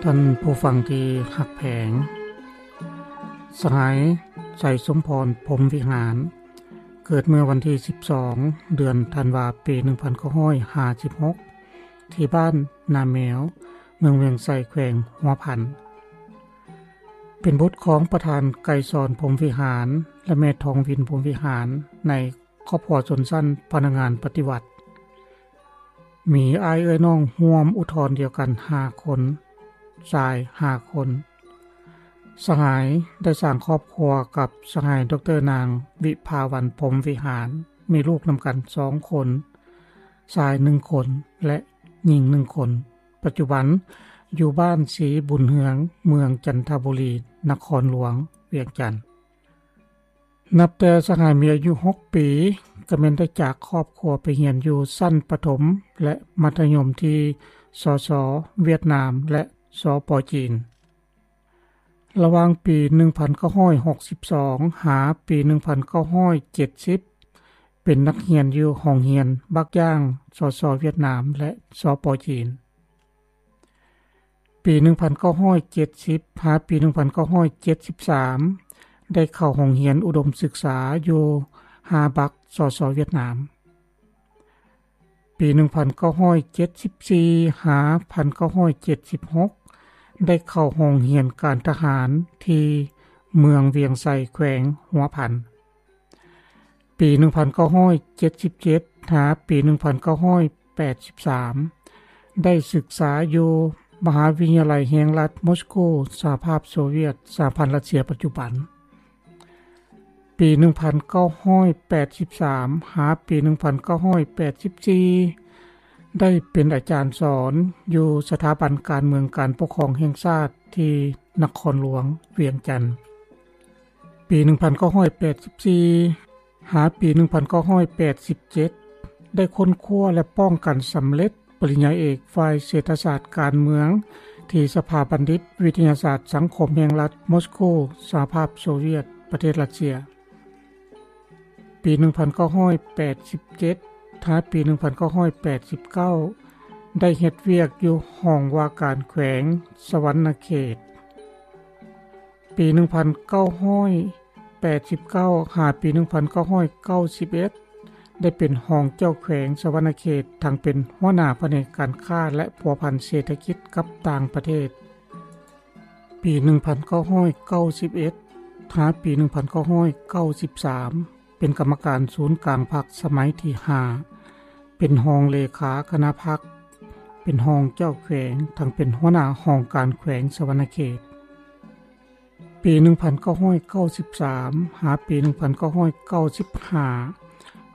ທ່ານຜູ້ຟັງທີ່ຮັກແພງ, ສະຫາຍ ໄຊສົມພອນ ພົມວິຫານ ເກີດເມື່ອວັນທີສິບສອງ ເດືອນທັນວາ ປີໜຶ່ງພັນເກົ້າຮ້ອຍຫ້າສິບຫົກ ທີ່ບ້ານນາແມວ ເມືອງວຽງໄຊ ແຂວງຫົວພັນ. ເປັນບຸດຂອງປະທານໄກສອນ ພົມວິຫານ ແລະ ແມ່ທອງວິນ ພົມວິຫານ ໃນຄອບຄົວຊົນຊັ້ນພະນັກງານປະຕິວັດ. ມີອ້າຍເອື້ອຍນ້ອງຮ່ວມອຸດທອນດຽວກັນຫ້າຄົນ, ຊາຍຫ້າຄົນ. ສະຫາຍໄດ້ສ້າງຄອບຄົວກັບສະຫາຍ ດອກເຕີ ນາງ ວິພາວັນ ພົມວິຫານ, ມີລູກນຳກັນສອງຄົນ, ຊາຍໜຶ່ງຄົນ ແລະ ຍິງໜຶ່ງຄົນ. ປັດຈຸບັນຢູ່ບ້ານສີບຸນເຮືອງ, ເມືອງຈັນທະບູລີ, ນະຄອນຫຼວງວຽງຈັນ. ນັບແຕ່ສະຫາຍມີອາຍຸຫົກປີ ກໍແມ່ນໄດ້ຈາກຄອບຄົວໄປຮຽນຢູ່ຊັ້ນປະຖົມ ແລະ ມັດທະຍົມທີ່ ສສ ຫວຽດນາມ ແລະ ສປ ຈີນ. ລະຫວ່າງປີໜຶ່ງພັນເກົ້າຮ້ອຍຫົກສິບສອງ ຫາປີໜຶ່ງພັນເກົ້າຮ້ອຍເຈັດສິບ ເປັນນັກຮຽນຢູ່ໂຮງຮຽນບັກຢ່າງ ສສ ຫວຽດນາມ ແລະ ສປ ຈີນ. ປີໜຶ່ງພັນເກົ້າຮ້ອຍເຈັດສິບ ຫາປີໜຶ່ງພັນເກົ້າຮ້ອຍເຈັດສິບສາມ ໄດ້ເຂົ້າໂຮງຮຽນອຸດົມສຶກສາຢູ່ຮາບັກ ສສ ຫວຽດນາມ. ປີໜຶ່ງພັນເກົ້າຮ້ອຍເຈັດສິບສີ່ ຫາພັນເກົ້າຮ້ອຍເຈັດສິບຫົກ ໄດ້ເຂົ້າໂຮງຮຽນການທະຫານທີ່ເມືອງວຽງໄຊ ແຂວງຫົວພັນ. ປີໜຶ່ງພັນເກົ້າຮ້ອຍເຈັດສິບເຈັດ ຫາປີໜຶ່ງພັນເກົ້າຮ້ອຍແປດສິບສາມ ໄດ້ສຶກສາຢູ່ມະຫາວິທະຍາໄລແຫ່ງລັດມົສໂກ, ສະຫະພາບໂຊວຽດ, ສະຫະພັນລັດເຊຍປັດຈຸບັນ. ປີໜຶ່ງພັນເກົ້າຮ້ອຍແປດສິບສາມ ຫາປີໜຶ່ງພັນເກົ້າຮ້ອຍແປດສິບສີ່ ໄດ້ເປັນອາຈານສອນຢູ່ສະຖາບັນການເມືອງການປົກຄອງແຫ່ງຊາດທີ່ນະຄອນຫຼວງວຽງຈັນ. ປີໜຶ່ງພັນເກົ້າຮ້ອຍແປດສິບສີ່ ຫາປີໜຶ່ງພັນເກົ້າຮ້ອຍແປດສິບເຈັດ ໄດ້ຄົ້ນຄວ້າ ແລະ ປ້ອງກັນສຳເລັດປະລິນຍາເອກຝ່າຍເສດຖະສາດການເມືອງ ທີ່ສະພາບັນດິດວິທະຍາສາດສັງຄົມແຫ່ງລັດມົສໂກ, ສະຫະພາບໂຊວຽດ, ປະເທດຣັດເຊຍ. ປີໜຶ່ງພັນເກົ້າຮ້ອຍແປດສິບເຈັດ ຫາປີໜຶ່ງພັນເກົ້າຮ້ອຍແປດສິບເກົ້າ ໄດ້ເຮັດວຽກຢູ່ຫ້ອງວ່າການແຂວງສະຫວັນນະເຂດ. ປີໜຶ່ງພັນເກົ້າຮ້ອຍແປດສິບເກົ້າ ຫາປີໜຶ່ງພັນເກົ້າຮ້ອຍເກົ້າສິບເອັດ ໄດ້ເປັນຮອງເຈົ້າແຂວງສະຫວັນນະເຂດ, ທັງເປັນຫົວໜ້າພະແນກການຄ້າ ແລະ ພົວພັນເສດຖະກິດກັບຕ່າງປະເທດ. ປີໜຶ່ງພັນເກົ້າຮ້ອຍເກົ້າສິບເອັດ ຫາປີໜຶ່ງພັນເກົ້າຮ້ອຍເກົ້າສິບສາມ ເປັນກຳມະການສູນກາງພັກສະໄໝທີຫ້າ ເປັນຮອງເລຂາຄະນະພັກ, ເປັນຮອງເຈົ້າແຂວງ, ທັງເປັນຫົວໜ້າຫ້ອງການແຂວງສະຫວັນນະເຂດ. ປີໜຶ່ງພັນເກົ້າຮ້ອຍເກົ້າສິບສາມ ຫາປີໜຶ່ງພັນເກົ້າຮ້ອຍເກົ້າສິບຫ້າ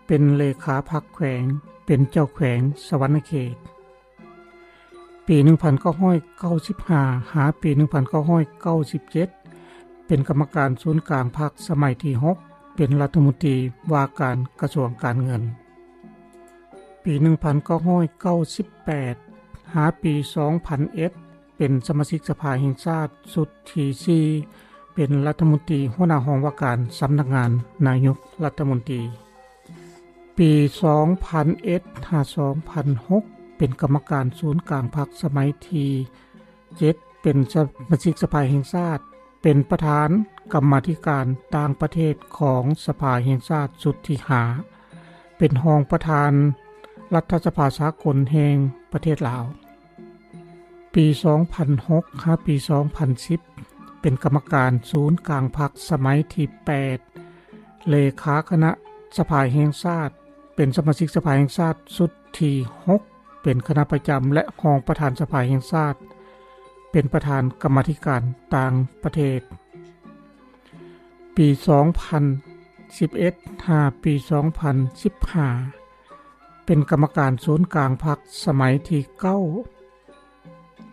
ເປັນເລຂາພັກແຂວງ, ເປັນເຈົ້າແຂວງສະຫວັນນະເຂດ. ປີໜຶ່ງພັນເກົ້າຮ້ອຍເກົ້າສິບຫ້າ ຫາປີໜຶ່ງພັນເກົ້າຮ້ອຍເກົ້າສິບເຈັດ ເປັນກຳມະການສູນກາງພັກສະໄໝທີຫົກ ເປັນລັດຖະມົນຕີວ່າການກະຊວງການເງິນ. ປີໜຶ່ງພັນເກົ້າຮ້ອຍເກົ້າສິບແປດ ຫາປີສອງພັນເອັດ ເປັນສະມາຊິກສະພາແຫ່ງຊາດຊຸດທີສີ່ ເປັນລັດຖະມົນຕີຫົວໜ້າຫ້ອງວ່າການສຳນັກງານນາຍົກລັດຖະມົນຕີ. ປີສອງພັນເອັດ ຫາສອງພັນຫົກ ເປັນກຳມະການສູນກາງພັກສະໄໝທີເຈັດ ເປັນສະມາຊິກສະພາແຫ່ງຊາດ, ເປັນປະທານກຳມາທິການຕ່າງປະເທດຂອງສະພາແຫ່ງຊາດຊຸດທີຫ້າ ເປັນຮອງປະທານລັດຖະສະພາສາກົນແຫ່ງປະເທດລາວ. ປີສອງພັນຫົກ ຫາປີສອງພັນສິບ ເປັນກຳມະການສູນກາງພັກສະໄໝທີແປດ ເລຂາຄະນະສະພາແຫ່ງຊາດ, ເປັນສະມາຊິກສະພາແຫ່ງຊາດຊຸດທີຫົກ ເປັນຄະນະປະຈຳ ແລະ ຮອງປະທານສະພາແຫ່ງຊາດ, ເປັນປະທານກຳມາທິການຕ່າງປະເທດ. ປີສອງພັນສິບເອັດ ຫາປີສອງພັນສິບຫ້າ ເປັນກຳມະການສູນກາງພັກສະໄໝທີເກົ້າ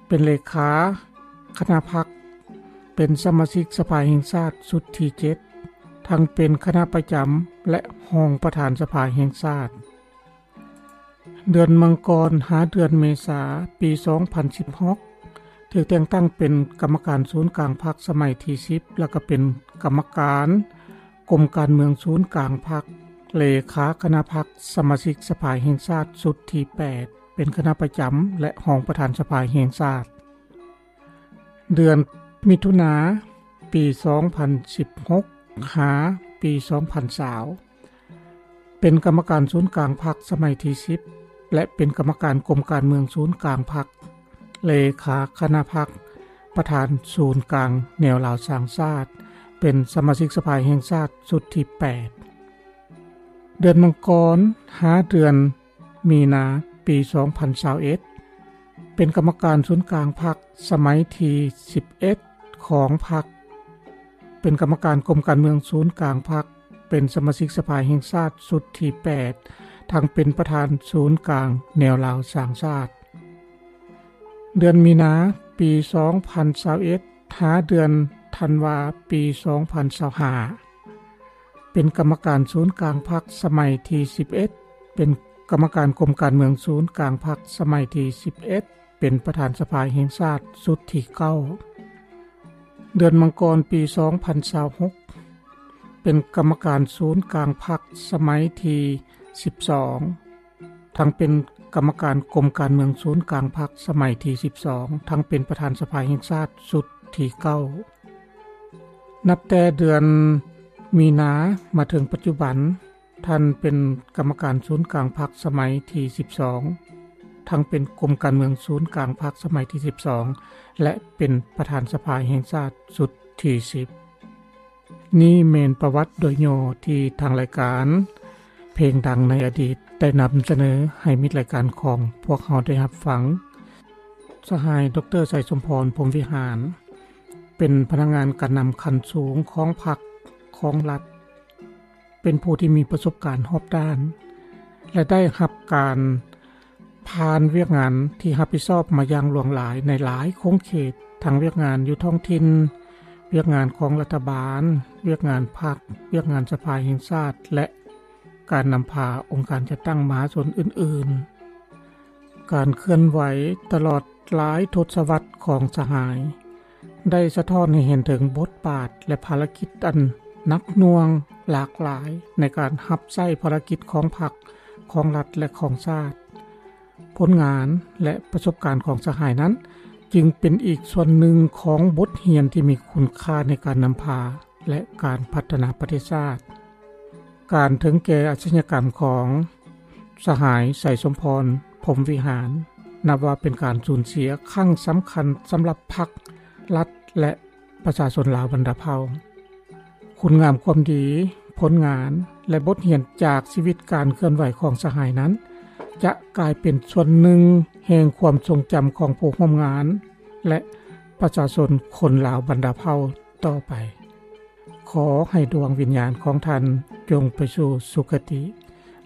ເປັນເລຂາຄະນະພັກ, ເປັນສະມາຊິກສະພາແຫ່ງຊາດຊຸດທີເຈັດ ທັງເປັນຄະນະປະຈຳ ແລະ ຮອງປະທານສະພາແຫ່ງຊາດ. ເດືອນມັງກອນ ຫາເດືອນເມສາ ປີສອງພັນສິບຫົກ ຖືກແຕ່ງຕັ້ງເປັນກຳມະການສູນກາງພັກສະໄໝທີສິບ ແລ້ວກໍເປັນກຳມະການກົມການເມືອງສູນກາງພັກ, ເລຂາຄະນະພັກ, ສະມາຊິກສະພາແຫ່ງຊາດຊຸດທີແປດ ເປັນຄະນະປະຈຳ ແລະ ຮອງປະທານສະພາແຫ່ງຊາດ. ເດືອນມິຖຸນາ ປີສອງພັນສິບຫົກ ຫາປີສອງພັນຊາວ ເປັນກຳມະການສູນກາງພັກສະໄໝທີສິບ ແລະ ເປັນກຳມະການກົມການເມືອງສູນກາງພັກ, ເລຂາຄະນະພັກ, ປະທານສູນກາງແນວລາວສ້າງຊາດ, ເປັນສະມາຊິກສະພາແຫ່ງຊາດຊຸດທີແປດ. ເດືອນມັງກອນ ຫາເດືອນມີນາ ປີສອງພັນຊາວເອັດ ເປັນກຳມະການສູນກາງພັກສະໄໝທີສິບເອັດ ຂອງພັກ, ເປັນກຳມະການກົມການເມືອງສູນກາງພັກ, ເປັນສະມາຊິກສະພາແຫ່ງຊາດຊຸດທີແປດ ທັງເປັນປະທານສູນກາງແນວລາວສ້າງຊາດ. ເດືອນມີນາ ປີສອງພັນຊາວເອັດ ຫາເດືອນທັນວາ ປີສອງພັນຊາວຫ້າ ເປັນກຳມະການສູນກາງພັກສະໄໝທີສິບເອັດ ເປັນກຳມະການກົມການເມືອງສູນກາງພັກສະໄໝທີສິບເອັດ ເປັນປະທານສະພາແຫ່ງຊາດຊຸດທີເກົ້າ. ເດືອນມັງກອນ ປີສອງພັນຊາວຫົກ ເປັນກຳມະການສູນກາງພັກສະໄໝທີສິບສອງ ທັງເປັນກຳມະການກົມການເມືອງສູນກາງພັກສະໄໝທີສິບສອງ ທັງເປັນປະທານສະພາແຫ່ງຊາດຊຸດທີເກົ້າ. ນັບແຕ່ເດືອນມີນາມາເຖິງປັດຈຸບັນ, ທ່ານເປັນກຳມະການສູນກາງພັກສະໄໝທີສິບສອງ ທັງເປັນກົມການເມືອງສູນກາງພັກສະໄໝທີສິບສອງ ແລະ ເປັນປະທານສະພາແຫ່ງຊາດຊຸດທີສິບ. ນີ້ແມ່ນປະຫວັດໂດຍຫຍໍ້ທີ່ທາງລາຍການເພງດັງໃນອະດີດໄດ້ນຳສະເໜີໃຫ້ມິດລາຍການຂອງພວກເຮົາໄດ້ຮັບຟັງ. ສະຫາຍ ດຣ ໄຊສົມພອນ ພົມວິຫານ ເປັນພະນັກງານການນຳຂັ້ນສູງຂອງພັກ, ຂອງລັດ, ເປັນຜູ້ທີ່ມີປະສົບການຮອບດ້ານ ແລະ ໄດ້ຮັບການຜ່ານວຽກງານທີ່ຮັບຜິດຊອບມາຢ່າງຫຼວງຫຼາຍໃນຫຼາຍຂົງເຂດ, ທັງວຽກງານຢູ່ທ້ອງຖິ່ນ, ວຽກງານຂອງລັດຖະບານ, ວຽກງານພັກ, ວຽກງານສະພາແຫ່ງຊາດ ແລະ ການນຳພາອົງການຈັດຕັ້ງມະຫາຊົນອື່ນໆ. ການເຄື່ອນໄຫວຕະຫຼອດຫຼາຍທົດສະວັດຂອງສະຫາຍ ໄດ້ສະທ້ອນໃຫ້ເຫັນເຖິງບົດບາດ ແລະ ພາລະກິດອັນໜັກໜ່ວງຫຼາກຫຼາຍໃນການຮັບໃຊ້ພາລະກິດຂອງພັກ, ຂອງລັດ ແລະ ຂອງຊາດ. ຜົນງານ ແລະ ປະສົບການຂອງສະຫາຍນັ້ນ ຈຶ່ງເປັນອີກສ່ວນໜຶ່ງຂອງບົດຮຽນທີ່ມີຄຸນຄ່າໃນການນຳພາ ແລະ ການພັດທະນາປະເທດຊາດ. ການເຖິງແກ່ອາຊະຍາກຳຂອງສະຫາຍ ໄຊສົມພອນ ພົມວິຫານ ນັບວ່າເປັນການສູນເສຍຄັ້ງສຳຄັນສຳລັບພັກ, ລັດ ແລະ ປະຊາຊົນລາວບັນດາເຜົ່າ. ຄຸນງາມຄວາມດີ, ຜົນງານ ແລະ ບົດຮຽນຈາກຊີວິດການເຄື່ອນໄຫວຂອງສະຫາຍນັ້ນ ຈະກາຍເປັນສ່ວນໜຶ່ງແຫ່ງຄວາມຊົງຈຳຂອງຜູ້ຮ່ວມງານ ແລະ ປະຊາຊົນຄົນລາວບັນດາເຜົ່າຕໍ່ໄປ. ຂໍໃຫ້ດວງວິນຍານຂອງທ່ານຈົ່ງໄປສູ່ສຸຄະຕິ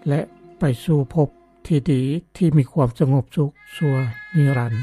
ແລະ ໄປສູ່ພົບທີ່ດີທີ່ມີຄວາມສະຫງົບສຸກຊົ່ວນິລັນ.